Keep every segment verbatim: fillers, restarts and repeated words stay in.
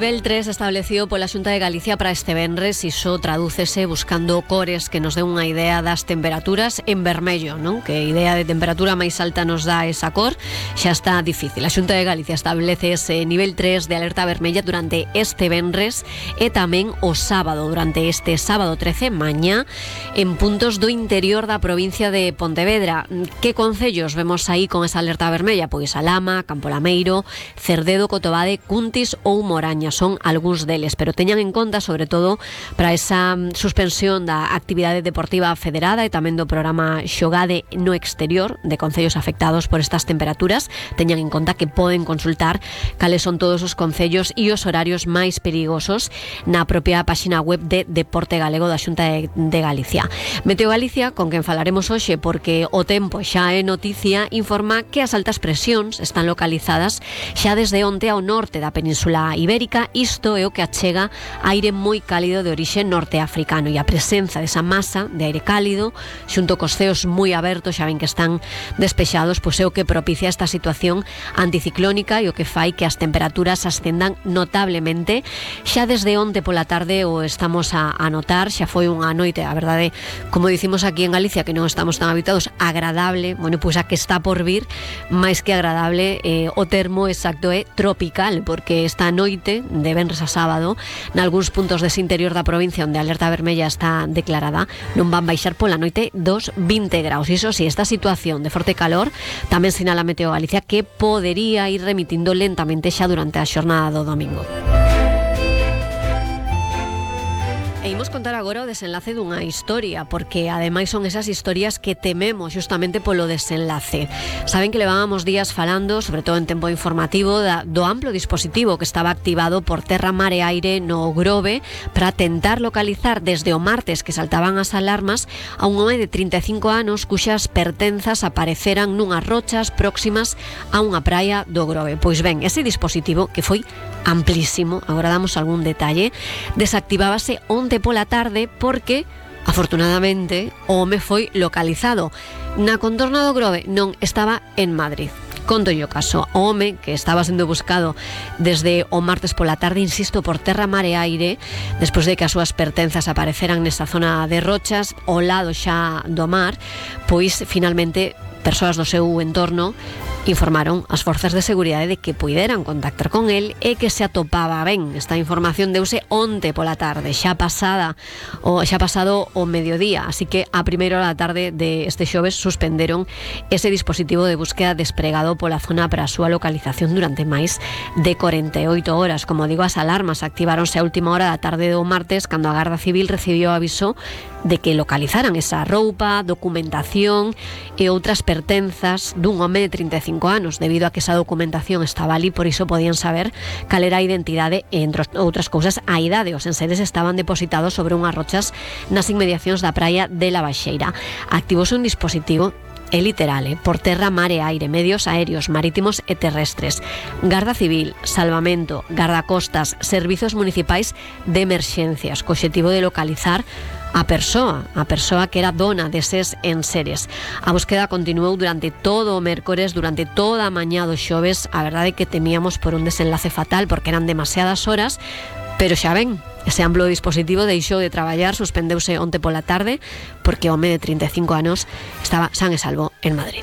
nivel tres establecido pola Xunta de Galicia para este venres, iso tradúcese buscando cores que nos den unha idea das temperaturas en vermello, non? Que idea de temperatura máis alta nos dá esa cor, xa está difícil. A Xunta de Galicia establece ese nivel tres de alerta vermella durante este venres e tamén o sábado, durante este sábado trece, mañá, en puntos do interior da provincia de Pontevedra. Que concellos vemos aí con esa alerta vermella? Pois Alhama, Campolameiro, Cerdedo, Cotobade, Cuntis ou Moraña son algúns deles, pero teñan en conta sobre todo para esa suspensión da actividade deportiva federada e tamén do programa Xogade no exterior de concellos afectados por estas temperaturas. Teñan en conta que poden consultar cales son todos os concellos e os horarios máis perigosos na propia páxina web de Deporte Galego da Xunta de, de Galicia. Meteo Galicia, con quen falaremos hoxe porque o tempo xa é noticia, informa que as altas presións están localizadas xa desde onte ao norte da Península Ibérica. Isto é o que achega aire moi cálido de orixe norteafricano, e a presenza desa masa de aire cálido xunto cos ceos moi abertos, xa ven que están despexados, pois é o que propicia esta situación anticiclónica e o que fai que as temperaturas ascendan notablemente. Xa desde onte pola tarde o estamos a, a notar, xa foi unha noite, a verdade, como dicimos aquí en Galicia, que non estamos tan habituados, agradable. Bueno, pois a que está por vir, máis que agradable, eh, o termo exacto é tropical, porque esta noite de venres a sábado, nalgúns puntos dese interior da provincia onde a alerta vermella está declarada, non van baixar pola noite dos vinte graus. Iso si, esta situación de forte calor tamén sinala Meteo Galicia que podería ir remitindo lentamente xa durante a xornada do domingo. E imos contar agora o desenlace dunha historia, porque ademais son esas historias que tememos justamente polo desenlace. Saben que levábamos días falando, sobre todo en tempo informativo, da, do amplo dispositivo que estaba activado por Terra, Mar e Aire no Grove para tentar localizar desde o martes que saltaban as alarmas a un home de trinta e cinco anos cuxas pertenzas apareceran nunhas rochas próximas a unha praia do Grove. Pois ben, ese dispositivo, que foi amplísimo, agora damos algún detalle, desactivábase onte pola tarde porque, afortunadamente, o home foi localizado na contorna do Grove, non estaba en Madrid. Conto yo caso, o home que estaba sendo buscado desde o martes pola tarde, insisto, por Terra, Mar e Aire, despois de que as súas pertenzas apareceran nesa zona de rochas ao lado xa do mar, pois finalmente persoas do seu entorno informaron as forzas de seguridade de que puideran contactar con el e que se atopaba ben. Esta información deuse onte pola tarde, xa pasada o xa pasado o mediodía, así que a primeira hora da tarde de este xoves suspenderon ese dispositivo de búsqueda despregado pola zona para a súa localización durante máis de corenta e oito horas. Como digo, as alarmas activáronse a última hora da tarde do martes, cando a Garda Civil recibiu aviso de que localizaran esa roupa, documentación e outras pertenzas dun home de trinta e cinco anos, debido a que esa documentación estaba ali, por iso podían saber cal era a identidade e, entre outras cousas, a idade. Os enseres estaban depositados sobre unhas rochas nas inmediacións da praia de La Baixeira. Activouse un dispositivo, é literal, eh? por Terra, Mar e Aire, medios aéreos, marítimos e terrestres, Garda Civil, Salvamento, Gardacostas, Servizos Municipais de Emerxencias, co obxectivo de localizar a persoa, a persoa que era dona deses enseres. A búsqueda continuou durante todo o mércores, durante toda a mañá do xoves. A verdade é que temíamos por un desenlace fatal porque eran demasiadas horas, pero xa ven, ese amplo dispositivo deixou de traballar, suspendeuse onte pola tarde porque o home de trinta e cinco anos estaba san e salvo en Madrid.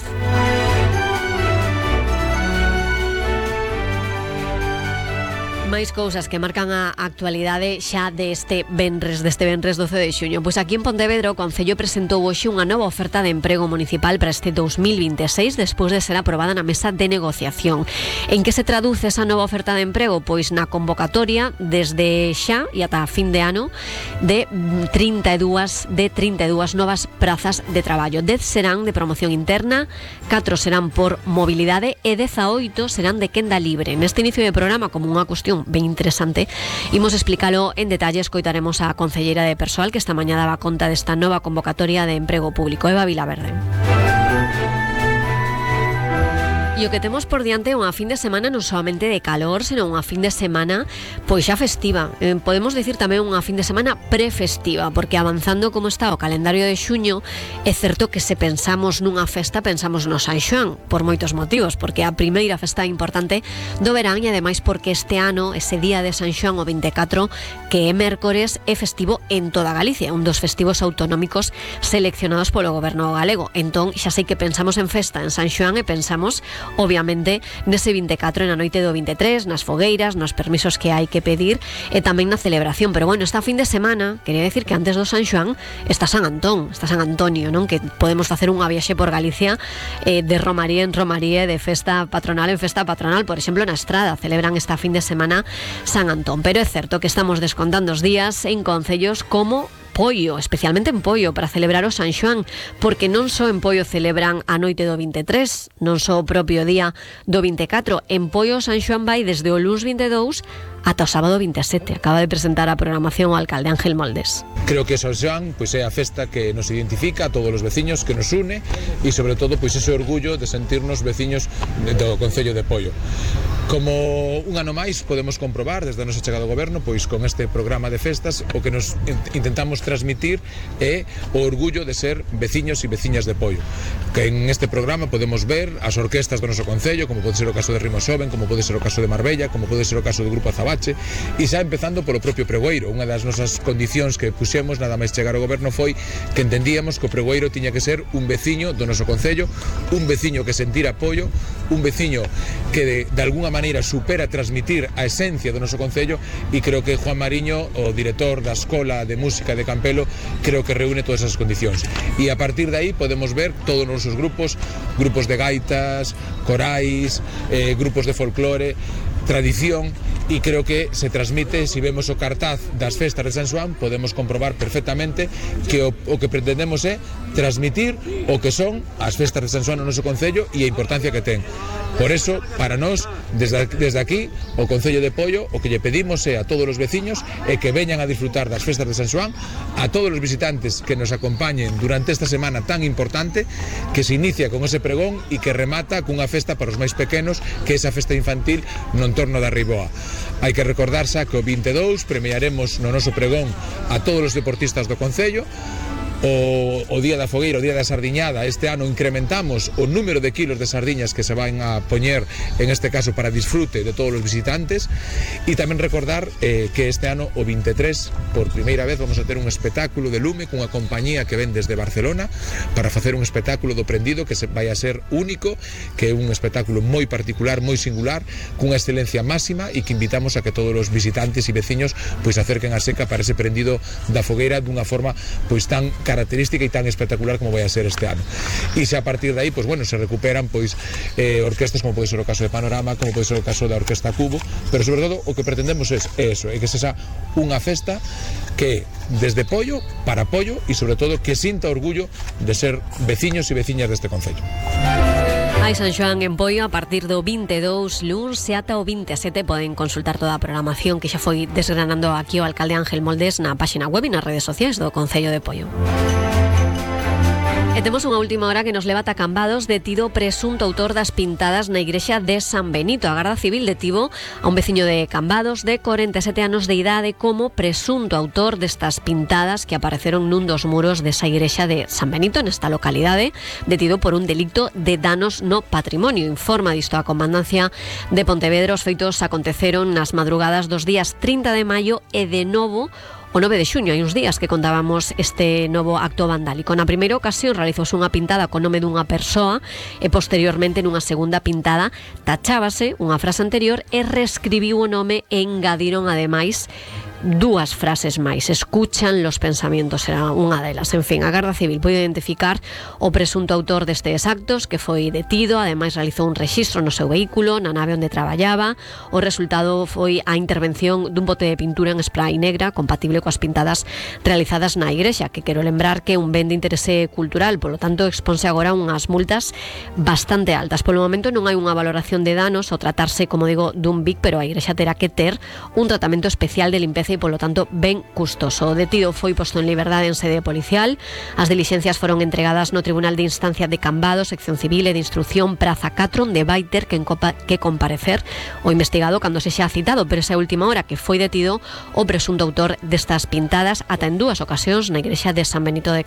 Máis cousas que marcan a actualidade xa deste venres, deste venres doce de xuño. Pois aquí en Pontevedra o Concello presentou hoxe unha nova oferta de emprego municipal para este dos mil vinte e seis, despois de ser aprobada na mesa de negociación. En que se traduce esa nova oferta de emprego? Pois na convocatoria desde xa e ata fin de ano de trinta e dúas de trinta e dúas novas prazas de traballo. dez serán de promoción interna, catro serán por mobilidade e dezaoito serán de quenda libre. Neste inicio de programa, como unha cuestión ben interesante, imos explicalo en detalle. Escoitaremos a concelleira de Persoal, que esta mañá daba conta desta nova convocatoria de emprego público, Eva Vilaverde. E o que temos por diante é unha fin de semana non solamente de calor, senón unha fin de semana pois xa festiva. Eh, podemos dicir tamén unha fin de semana prefestiva, porque avanzando como está o calendario de xuño, é certo que se pensamos nunha festa, pensamos no San Xoán, por moitos motivos, porque a primeira festa importante do verán e ademais porque este ano, ese día de San Xoán, o vinte e catro, que é mércores, é festivo en toda Galicia, un dos festivos autonómicos seleccionados polo goberno galego. Entón, xa sei que pensamos en festa en San Xoán e pensamos obviamente nese vinte e catro, na noite do vinte e tres, nas fogueiras, nos permisos que hai que pedir e tamén na celebración. Pero bueno, esta fin de semana, quería decir que antes do San Xoán está San Antón, está San Antonio, non? Que podemos facer unha viaxe por Galicia eh, de romaría en romaría, de festa patronal en festa patronal. Por exemplo, na Estrada celebran esta fin de semana San Antón. Pero é certo que estamos descontando os días en concellos como Poio, especialmente en Poio, para celebrar o San Xoán, porque non só en Poio celebran a noite do vinte e tres, non só o propio día do vinte e catro. En Poio o San Xoán vai desde o luns vinte e dous ata o sábado vinte e sete. Acaba de presentar a programación o alcalde Ángel Moldes. Creo que o San Xoán pois, é a festa que nos identifica a todos os veciños, que nos une e sobre todo pois, ese orgullo de sentirnos veciños do Concello de Poio. Como un ano máis podemos comprobar desde a nosa chegada ao goberno, pois con este programa de festas o que nos intentamos transmitir é o orgullo de ser veciños e veciñas de Poio. Que en este programa podemos ver as orquestas do noso concello, como pode ser o caso de Rimosoben, como pode ser o caso de Marbella, como pode ser o caso do Grupo Azabache, e xa empezando polo propio pregoeiro. Unha das nosas condicións que puxemos nada máis chegar ao goberno foi que entendíamos que o pregoeiro tiña que ser un veciño do noso concello, un veciño que sentira apoio, un veciño que de, de alguna maneira supera transmitir a esencia do noso concello, e creo que Juan Mariño, o director da Escola de Música de Campelo, creo que reúne todas esas condicións. E a partir de aí podemos ver todos os nosos grupos, grupos de gaitas, corais, eh, grupos de folclore, tradición, e creo que se transmite. Si vemos o cartaz das festas de San Xoán, podemos comprobar perfectamente que o, o que pretendemos é transmitir o que son as festas de San Xoán no noso concello e a importancia que ten. Por eso, para nós, desde, desde aquí, o Concello de Poio, o que lle pedimos é a todos os veciños é que veñan a disfrutar das festas de San Xoán, a todos os visitantes que nos acompañen durante esta semana tan importante, que se inicia con ese pregón e que remata cunha festa para os máis pequenos, que é esa festa infantil no entorno da Riboa. Hai que recordar xa que o vinte e dous premiaremos no noso pregón a todos os deportistas do Concello. O, o día da fogueira, o día da sardiñada, este ano incrementamos o número de kilos de sardiñas que se van a poñer, en este caso para disfrute de todos os visitantes. E tamén recordar eh, que este ano, o vinte e tres, por primeira vez vamos a ter un espectáculo de lume cunha compañía que ven desde Barcelona para facer un espectáculo do prendido que se vai a ser único, que é un espectáculo moi particular, moi singular, cunha excelencia máxima, e que invitamos a que todos os visitantes e veciños pois acerquen a seca para ese prendido da fogueira dunha forma pois tan característica e tan espectacular como vai a ser este ano. E xa a partir de aí, pois bueno, se recuperan pois eh, orquestas como pode ser o caso de Panorama, como pode ser o caso da Orquesta Cubo, pero sobre todo o que pretendemos é eso, é que sexa unha festa que desde Poio para Poio e sobre todo que sinta orgullo de ser veciños e veciñas deste concello. Hai San Xoán en Poio a partir do vinte e dous luns e ata o vinte e sete. Poden consultar toda a programación que xa foi desgranando aquí o alcalde Ángel Moldes na páxina web e nas redes sociais do Concello de Poio. E temos unha última hora que nos leva ata Cambados. Detido presunto autor das pintadas na igrexa de San Benito. A Garda Civil detivo a un veciño de Cambados de corenta e sete anos de idade como presunto autor destas pintadas que apareceron nun dos muros desa igrexa de San Benito, nesta localidade, detido por un delicto de danos no patrimonio. Informa disto a Comandancia de Pontevedra. Os feitos aconteceron nas madrugadas dos días trinta de maio e de novo o nove de xuño. Hai uns días que contábamos este novo acto vandálico. Na primeira ocasión realizouse unha pintada co nome dunha persoa e posteriormente nunha segunda pintada tachábase unha frase anterior e reescribiu o nome e engadiron ademais dúas frases máis. Escuchan los pensamientos, era unha delas. En fin, a Garda Civil pode identificar o presunto autor destes actos, que foi detido. Ademais realizou un rexistro no seu vehículo, na nave onde traballaba. O resultado foi a intervención dun bote de pintura en spray negra compatible coas pintadas realizadas na igrexa, que quero lembrar que é un ben de interese cultural, polo tanto exponse agora unhas multas bastante altas. Polo momento non hai unha valoración de danos ao tratarse, como digo, dun B I C, pero a igrexa terá que ter un tratamento especial de limpeza parece, polo tanto, ben custoso. O detido foi posto en liberdade en sede policial. As dilixencias foron entregadas no Tribunal de Instancia de Cambados, sección civil e de instrucción Praza catro, onde vai ter que, que comparecer o investigado cando se xa citado, pero esa última hora que foi detido o presunto autor destas pintadas ata en dúas ocasións na igrexa de San Benito de